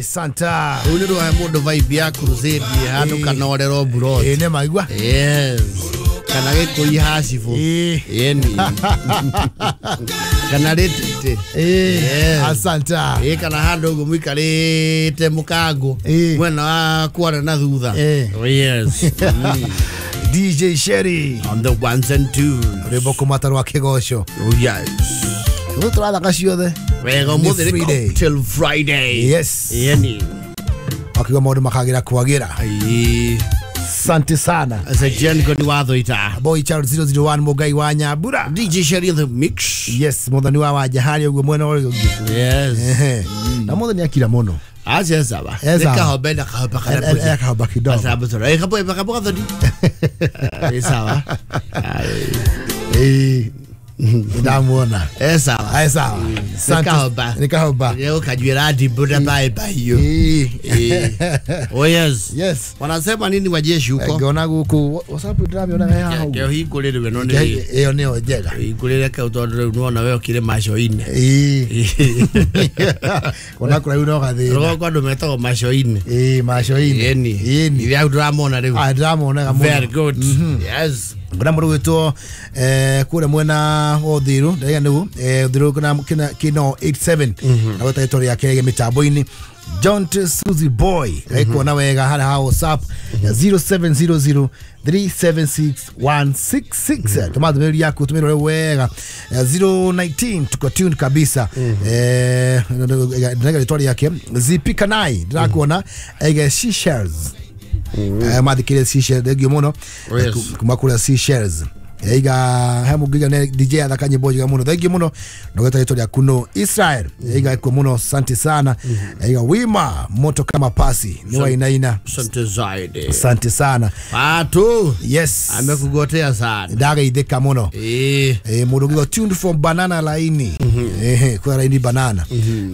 Santa. Rĩu nĩ rwahe mũndũ vibe ya crusade handũ kana orero mburoti. Nĩ maigua. Yes. Kana gĩkũi hacibũ. Yeni. Kana rĩtĩtĩ. Yes. Asanta. Kana handũ ũguo mũikarĩte mũkango mwena wa kwara na thutha. Yes. DJ Sherry on the ones and twos. Rwĩmbo kũmata rwa kĩgoco. Oh yes. Rĩu tũrathaka ciothe. Wega ũmũthĩ nĩ Cocktail Friday. Yes. Yeni. Wakiuga maũndũ makagĩra kwagĩra. Asante sana. Asa Jen ni watho ita. Boy Child 001 Mugai wa Nyambura. DJ Sherry in the mix. Yes, muthoni wa Wajahari uguo mwena ũrĩa ũngĩ. Yes. Na muthoni akira mũno. Acha sawa. Nikahobe na kahoba kana. Kahoba kidogo. Sababu tora. Kapo kapo kathoni. Sawa. Ndamuona. Sawa. Sawa. Nikahoba. Nikahoba. Leo kajuera dibuda bye bye. Oh yes. Yes. Wanasema nini wajeshi huko? Ngiona guku WhatsApp ndĩramĩona haha ũguo. Kĩhingũrĩrwe no nĩ. Ĩyo nĩyo njega. Hingũrĩre kau tondũ rĩu nĩwona we ũkĩrĩ maco-inĩ. Kona kũraihu no gathĩna. Rũgongo andũ metagwo maco-inĩ. Maco-inĩ. Ĩni. Ithe hau ndĩramona rĩu. Ndĩramonaga mũno. Very good. Yes. Kuna mũndũ gwĩtwo kũrĩa mwena wa Uthiru ndaiga nĩguo Uthiru kino 87 na gwĩta rĩtwa rĩake mĩtambo-inĩ John T. Suzy Boy ekuona wega harĩa ha WhatsApp 0700 376 166 tũma ndũmĩrĩri yaku tũmĩrore wega 019 tuko tune kabisa ndaiga rĩtwa rĩake Zipi Kanai ndĩrakuona aiga Seashells mathikire Seashells thengio mũno kuma kũrĩa Seashells iga he mũngiga ne DJ athaka nyĩmbo njega mũno thengio mũno ndogeta rĩtwa rĩaku no Israel iga ikuo mũno asante sana iga wima moto kama pasi ni wainaina asante zaidi asante sana watu yes amekugotea sana ndageithĩka mũno mũndũ ũngĩ tuned from banana laini kwa laini banana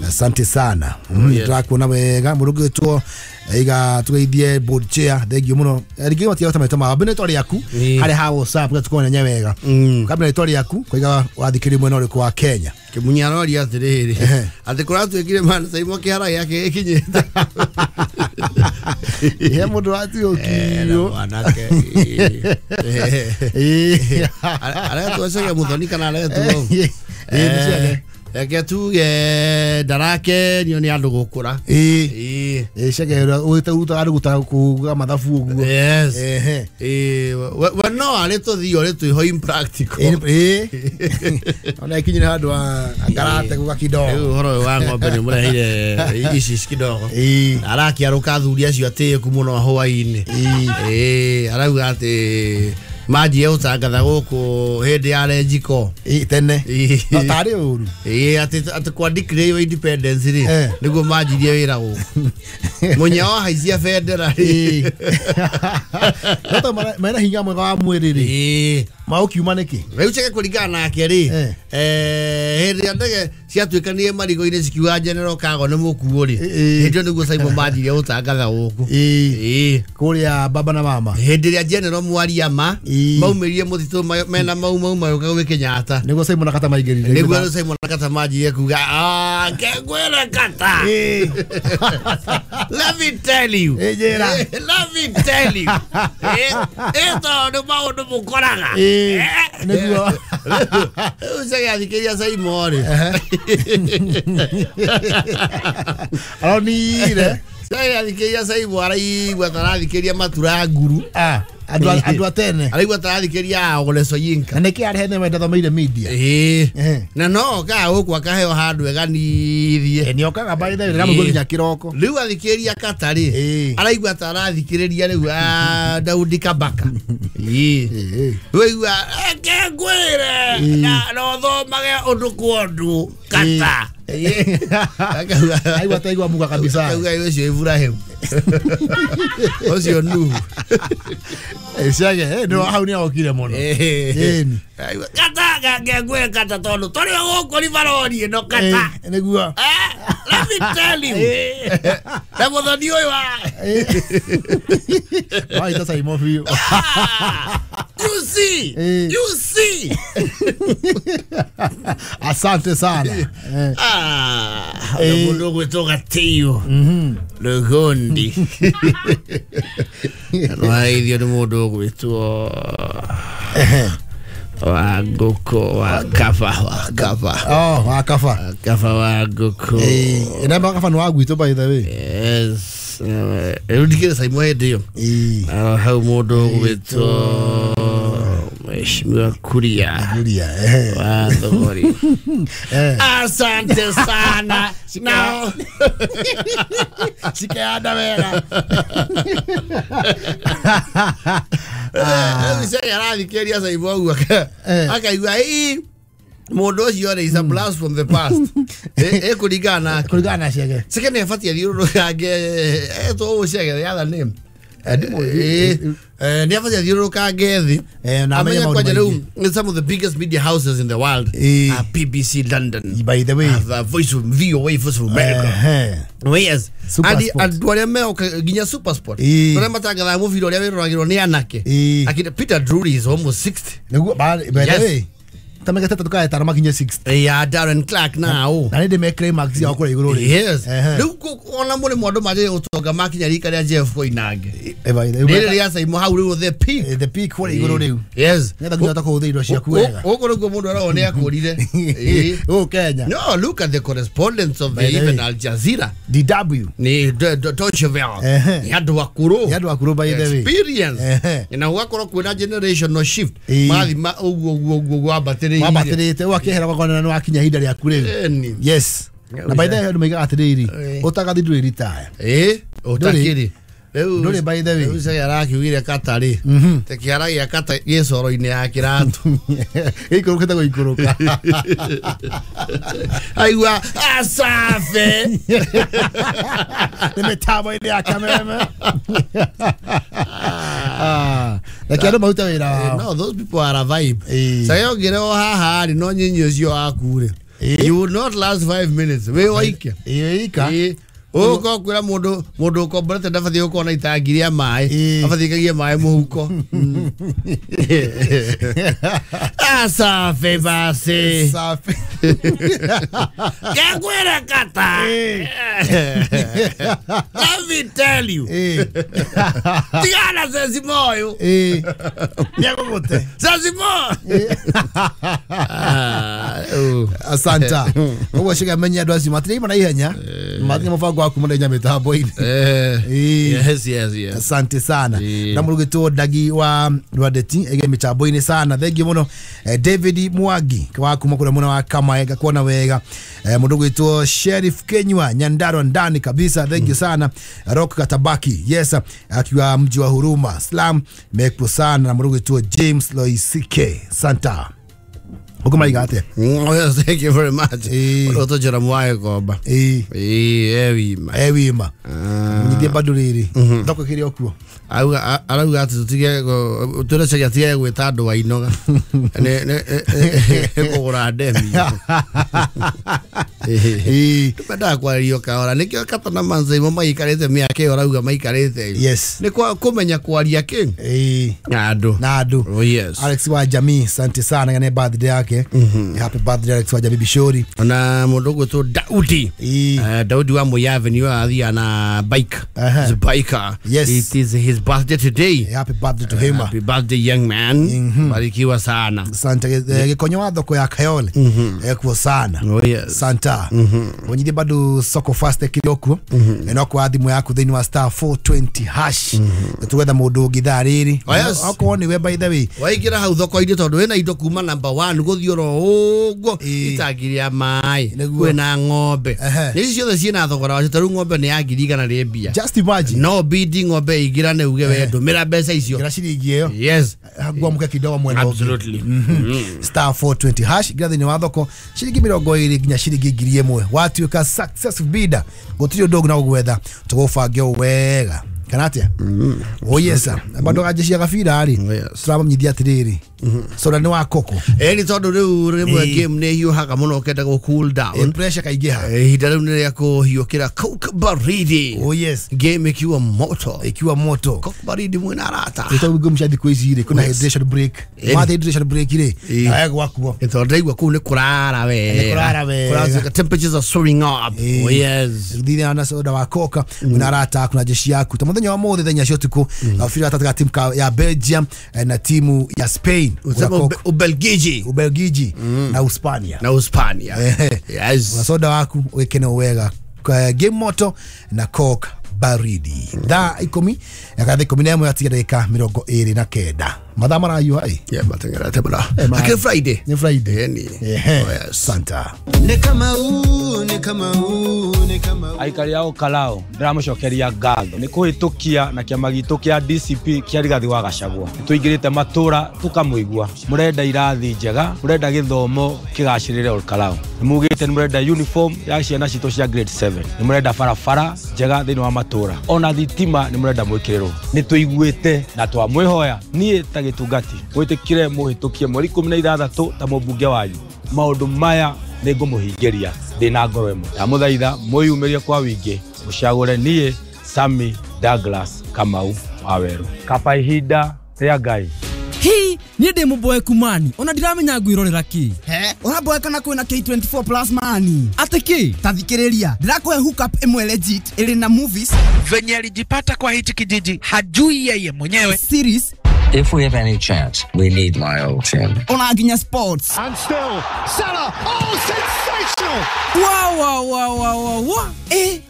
asante sana ndĩrakuona wega mũndũ ũngĩ gwĩtwo iga tugeithie board chair thengio mũno rĩngĩ matiga maitũ ma mbere rĩtwa rĩaku harĩa ha WhatsApp gatukuona nya wega kabla rĩtwa rĩaku koiga wathikĩrĩria mwena ũrĩkũ wa Kenya Kĩmunyarori atĩrĩrĩ atĩ kũratuĩkire mana Saimo kĩhara gĩake gĩkinyĩte he mũndũ watiũkirio mwanake aretwo Chege Muthoni kana aretwo reke tuge ndarakenio nĩ andũ gũkũra Chege ũrutaga andũ kuga mathabu ũguo yes we no arĩ tũthio rĩ twĩho impractical ona ikinyire handũ angarate guka kidogo rĩu ũhoro ũyũ wa ng'ombe nĩ mũreheire ici kidogo arakĩarũka athuri acio atĩĩku mũno hwaĩ-inĩ arauga atĩ manjie gũtangatha gũkũ hĩndĩ ya Renjiko tene no tarĩ ũru atĩ kwa declare independence rĩ nĩguo manjirie wĩra gũkũ mũnyao haicia bendera rĩ no to mena hinya mwega wa mwĩrĩ rĩ maũkiuma nĩkĩ rĩu Chege kũringana nake rĩ hĩndĩ ĩrĩa ndege ciatuĩkanire marigũ-inĩ cikiuga General Kago nĩ mũkuũ rĩ hĩndĩ ĩyo nĩguo Saimo manjirie gũtangatha gũkũ kũrĩa baba na mama hĩndĩ ĩrĩa General Mwariama maumĩrire mũtitũ mena mau mau magĩũka gwĩ Kenyatta nĩguo Saimo na Kata maingĩrire nĩguo Saimo na Kata manjirie kuga kengwĩre Kata let me tell you let me tell you tondũ maũndũ mũkoraga nĩguo rĩu Chege athikĩria Saimo rĩ aronire Chege athikĩria Saimo araigua ta arathikĩria matura nguru andũ a tene araigua ta arathikĩria Ole Soyinka na nĩkĩ arehe nĩ ndathomeire media na no okaga gũkũ akaheo handũ eganithie nĩ okaga by the way ndĩramũigua nginya kĩroko rĩu athikĩria Kata rĩ araigua ta arathikĩrĩria rĩu Daudi Kabaka rĩu reke ngwĩre na ũthomage ũndũ kwa ũndũ Kata aigua ta aigua muga kabisa akauga ũcio Ibrahim ũcio Nuhu Chege no hau nĩ okire mũno Kata ngengwĩre Kata tondũ tũrĩ o gũkũ ribarori ĩno Kata nĩguo let me tell you na mũthoni ũyũ wa waita Saimo biũ You see. You see. Asante sana. Ah, mundu gwitwo Gatĩo. Rũgondi. Rwaithio nĩ mũndũ ũgwĩtwo wa ngũkũ wa kaba wa kaba. Oh, wa kaba. Kaba wa ngũkũ. Eh, namba kaba ni wa gwitũ by the way. Yes. Rĩu ndikĩrĩ Saimo hĩndĩ ĩyo. Hau mũndũ ũgwĩtwo Mheshimiwa Kuria. Kuria, wa Thogori. Asante sana. Now shikeanda wega. Rĩu arathikĩrĩria Saimo ũguo akaigua ii mũndũ ũcio rĩ is a blast from the past. Ĩkũringana nake. Kũringana na Chege. Chege nĩ abatiĩ athiũrũrũkange etwo ũũ Chege the other name. Nĩ abatiĩ athiũrũrũkange thĩ. Na amenye maũndũ maingĩ. Some of the biggest media houses in the world are BBC London. By the way. Voice of VOA, Voice of America. Yes. Andũ arĩa meoka nginya Super Sport. Arĩa matangathaga mũbira ũrĩa wĩroragĩrwo nĩ anake. Akina Peter Drury is almost 60. Nĩguo, by the way. Tamegete tukae tano makinye 60. Yeah, Darren Clark now. Na nĩ me climax ya kũrĩa igũrũ rĩ. Yes. Rĩu ona mũrĩ mũndũ manjĩrĩria gũtonga makinya rika rĩa Jeff Koinange. Rĩrĩ rĩa Saimo hau rĩu the peak. The peak kũrĩa igũrũ rĩu. Yes. Nĩgetha nginya ũtakũhũthĩra indo ciaku wega. Gũkũ nĩkuo mũndũ arona nĩ akũrire. Gũkũ Kenya. No, look at the correspondence of the even Al Jazeera. DW. Ni Deutsche Welle. Nĩ andũ akũrũ. Nĩ andũ akũrũ by the way. Experience. Na gũgakorwo kwĩna generational shift. Mathi ũguo ũguo ũguo wambatĩrĩire. Wambatĩrĩte ũgakĩehera ũgakona nĩ wakinya ihinda rĩaku rĩu. Yes. Na by the way andũ maigaga atĩrĩrĩ, ũtagathi ndũrĩ retire. Ũtakĩrĩ. Ndũrĩ by the way. Rĩu Chege arakiugire kata rĩ. Te kĩara gĩa kata gĩ coro-inĩ ya kĩratũ. Gĩikũrũkĩte gũikũrũka. Aigua asafe. Nĩ mĩtambo-inĩ ya Kameme. Reke andũ marute wĩra wao. No, those people are a vibe. Chege ũngĩrehwo haha rĩ, no nyinyi ũcio waku rĩ. You will not last 5 minutes. Wĩ waike. Ika. Ũgũkorwo kwĩra mũndũ ũkomborete ndabatiĩ gũkorwo na itangi rĩa maĩ. Abatiĩ kagie maĩ mũhuko. Asafe basi. Safi. Kekwĩra kata. Let me tell you. Tigana Sesimo ũyũ. Nĩegũgũte. Sesimo. Asanta. Ũguo Chege amenye andũ acio matirĩ na ihenya. Matirĩ mũbango wa kuma na mĩtambo-inĩ. Yes, yes, yes. Asante sana. Na mũrugĩtwo Ndagi wa Rwandeti ege mĩtambo-inĩ sana. Thank you mũno. David Mwangi wa kuma kũrĩa mwena wa Kamae ngakuona wega. Mũndũ gwĩtwo Sheriff Kenywa Nyandarua ndani kabisa. Thank you sana. Rock Katabaki. Yes, akiwa mji wa Huruma. Slam mekpo sana na mũndũ gwĩtwo James Loisike. Santa. Ukumaiga atia? Oh, thank you very much. Ũtũnjĩra mwae komba. Ewima. Ewima. Nyithie bado rĩrĩ. Thoko ĩkĩrĩ o kuo. Arauga atĩ tũtige tũre Chege atige gwĩta andũ wa Inoga. Nĩ kũgũra ndemi. Tũmendaga kwarĩrio kahora. Nĩkĩo Kata na Manzaimo maikarĩte mĩaka ĩyo arauga maikarĩte. Yes. Nĩ kũmenya kwaria kĩ? Na andũ. Na andũ. Oh yes. Alex wa Jamii, asante sana nĩ birthday yake. Happy birthday Alex wa Jamii Bishori. Na mũndũ ũgwĩtwo Daudi. Daudi wa Moi Avenue athiaga na bike. He's a biker. Yes. It is his birthday today. Happy birthday to him. Happy birthday young man. Barikiwa sana. Asante. Gĩkonyo wa thoko ya Kayole. Ekuo sana. Oh yes. Santa. Wonyithie bado soko fast ĩkĩrĩ o kuo. No kwa thimũ yaku thĩinĩ wa star 420 hash. Tũgwetha mũndũ ũngĩ thaa rĩrĩ. Okorwo nĩwe by the way. Waingĩra hau thoko-inĩ tondũ wĩna indo kuma number 1 gũthiĩ oro ũguo itangi rĩa maĩ kwĩna ng'ombe. Nĩ ici ciothe ciĩna thogora wacio ta rĩu ng'ombe nĩ ya 100,000 rĩ mbia. Just imagine. No bidi ng'ombe ĩingĩrane uge we ndũmĩra mbeca icio. Ngĩra ciringi ĩyo. Yes. Ngwamũke kidogo mwena ũngĩ. Absolutely. Star 420 hash ngira thĩinĩ wa thoko ciringi 20 nginya ciringi 1,000. Watuĩka successful bidder gũtirĩ ũndũ ũngĩ na gũgwetha tũgũbange wega. Kana atĩa? Oh yes. Bado ganjĩ cia gabira rĩ. Tũramanyithia atĩrĩrĩ. Soda nĩ wa koko. Ĩni tondũ rĩu rĩmwe game nĩ hiũhaga mũno ũkenda gũ cool down. Pressure kaingĩha. Ihinda rĩu nĩ rĩa kũhiũkĩra Coke baridi. Oh yes. Game ikiwa moto. Ikiwa moto. Coke baridi mwĩna arata. Nĩ tondũ game cia thikũ ici rĩ kwĩna hydration break. Mathe hydration break rĩ nawe gwakuo. Nĩ tondũ ndaigua kũu nĩ kũrara wega. Nĩ kũrara wega. Temperatures are soaring up. Oh yes. Thithia na soda wa Coca mwĩna arata aku na jeshi yaku. Ta mũthenya wa mũthĩ thaa inya cia ũtukũ gabira gatagatĩ ka timu ya Belgium na timu ya Spain. Ubelgiji. Ubelgiji na Uspania. Na Uspania. Yes. Na soda waku wekene wega. Game moto na Coke baridi. Thaa 10 ya thaa 11 yatiga dakika 29. Mathaa marayuha ĩ. Yeah, matengerete mũno. Akĩ Friday. Nĩ Friday. Ni. Oh yes. Santa. Ni kama huu, ni kama huu, ni kama huu. Aikari ao Kalao ndĩramũcokeria ngatho nĩ kũhĩtũkia na kĩama gitũ kĩa DCP kĩa Rigathi wa Gachagua. Nĩtũingĩrĩte matũra tũkamũigua. Mũrenda irathi njega, mũrenda gĩthomo kĩgacĩrĩre Ol Kalou. Nĩmugĩte nĩmũrenda uniform ya ciana citũ cia grade 7. Nĩmũrenda barabara njega thĩinĩ wa matũra. Ona thitima nĩmũrenda mwĩkĩrĩrwo. Nĩtũiguĩte na twamwĩhoya niĩ ta gĩtungati mwĩtĩkire mũhĩtũkie mweri 16 ta mũmbunge wanyu. Maũndũ maya nĩngũmũhingĩria ndĩna ngoro ĩmwe. Ndamũthaitha mwĩyumĩrie kwa wingĩ mũcagũre niĩ Sammy Douglas Kamau Waweru. Kaba ihinda rĩa Ngai. Hi, niĩ ndĩ mũboeku mani ona ndiramenya ngwĩrorera kĩ. He, ũraboeka na kwĩna K24 plus mani. Atĩ kĩ? Ta thikĩrĩria, ndĩrakũhe hookup ĩmwe legit ĩrĩ na movies. Venye alijipata kwa hichi kijiji hajui yeye mwenyewe. Series. If we have any chance, we need my old team. Ona nginya sports. And still, Salah, oh, sensational! Wow, wow, wow, wow, wow.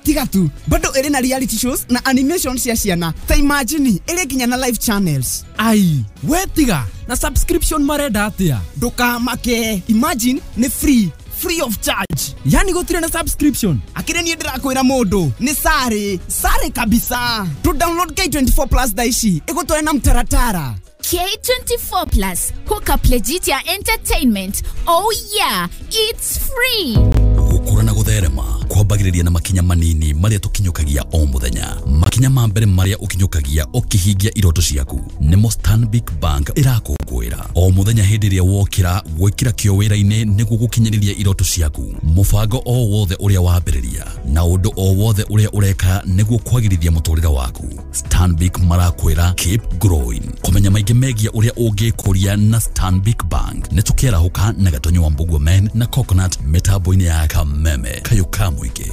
Tiga tu. Bado ĩrĩ na reality shows na animation cia ciana. Ta imagine, ĩrĩ nginya na live channels. Ai, we tiga. Na subscription marenda atia? Ndũkamake. Imagine, nĩ free. Free of charge. Yani gũtirĩ na subscription. Akĩrĩ niĩ ndĩrakwĩra mũndũ nĩ sare sare kabisa. To download K24 plus thaa ici ĩgũtware na mtaratara. K24 plus hook up legit ya entertainment. Oh yeah, it's free. Gũkũra na gũtherema kwambagĩrĩria na makinya manini marĩa tũkinyũkagia o mũthenya. Makinya ma mbere marĩa ũkinyũkagia ũkĩhingia iroto ciaku nĩmo Stanbic Bank ĩrakũngũĩra o mũthenya hĩndĩ ĩrĩa wokĩra gwĩkĩra kĩo wĩra-inĩ nĩguo gũkinyĩrĩria iroto ciaku. Mũbango o wothe ũrĩa wambĩrĩria na ũndũ o wothe ũrĩa ũreka nĩguo kwagĩrithia mũtũrĩre waku. Stanbic marakwĩra keep growing. Kũmenya maingĩ megiĩ ũrĩa ũngĩkũria na Stanbic Bank nĩ tũkĩarahũka na Gatonyo wa Mbugua Men na Coconut mĩtambo-inĩ ya Kameme kayũ ka mũingĩ.